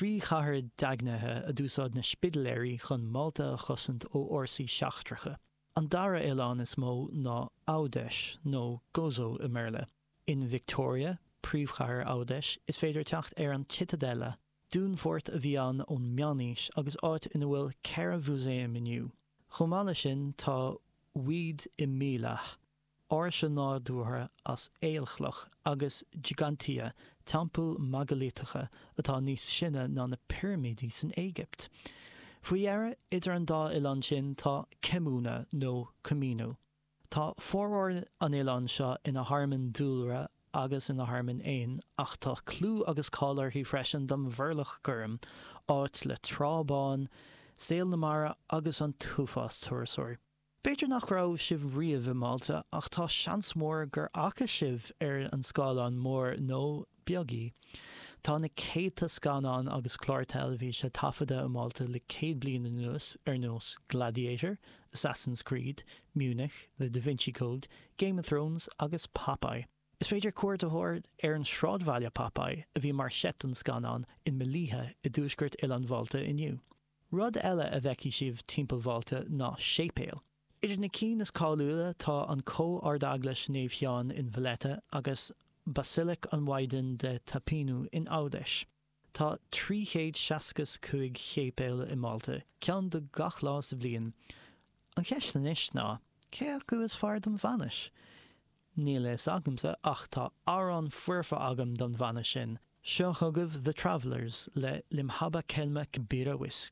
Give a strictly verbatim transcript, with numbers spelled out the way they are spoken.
Trí chathair daingnithe a d'úsáid na Spidiléirí chun Málta a chosaint ó fhórsaí seachtracha. An dara oileán is mó ná Għawdex nó Gozo i mBéarla. In Victoria, príomhchathair Għawdex, is féidir teacht ar an Citadella, dúnfort a bhí ann ón Meánaois agus áit ina bhfuil ceithre mhúsaem inniu. Chomh maith leis sin tá Wied Imlieħ, áirse nádúrtha as aolchloch agus Ġgantija, teampall meigiliteach atá níos sine ná na pirimidí san Éigipt. Faoi dheireadh, idir an dá oileán sin tá Kemmuna nó Comino. Tá formhór an oileáin seo ina thearmann dúlra agus ina thearmann éan, ach tá clú agus cáil uirthi freisin don Mhurlach Gorm, áit le trá bán, saol na mara agus an t-uafás turasóirí. B'fhéidir nach raibh sibh riamh i Málta ach tá seans mór gur fhaca sibh ar an scáileán mór nó beag í. Tá na céadta scannán agus clár teilifíse taifeadta i Málta le céad bliain anuas ar nós Gladiator, Assassin's Creed, Munich, The Da Vinci Code, Game of Thrones agus Popeye. Is féidir cuairt a thabhairt ar an sráidbhaile Popeye a bhí mar sheit don scannán in Mellieħa i dtuaisceart Oileán Mhálta inniu. Rud eile a bhfeicfidh sibh timpeall Mhálta ná séipéil. Idir na cinn is cáiliúla tá an Comh-Ardeaglais Naomh Sheáin in Valletta agus Basilic an Mhaighdean de Ta Pinu in Għawdex. Tá trí chéad seasca cúig shéipéal i Málta, ceann do gach lá sa bhliain. An cheist anois ná, cé acu is fearr don bhainis? Níl a fhios agamsa ach tá amhrán foirfe agam don bhainis sin. Seo chugaibh The Travellers le L' Imħabba Kelma Kbira Wisq.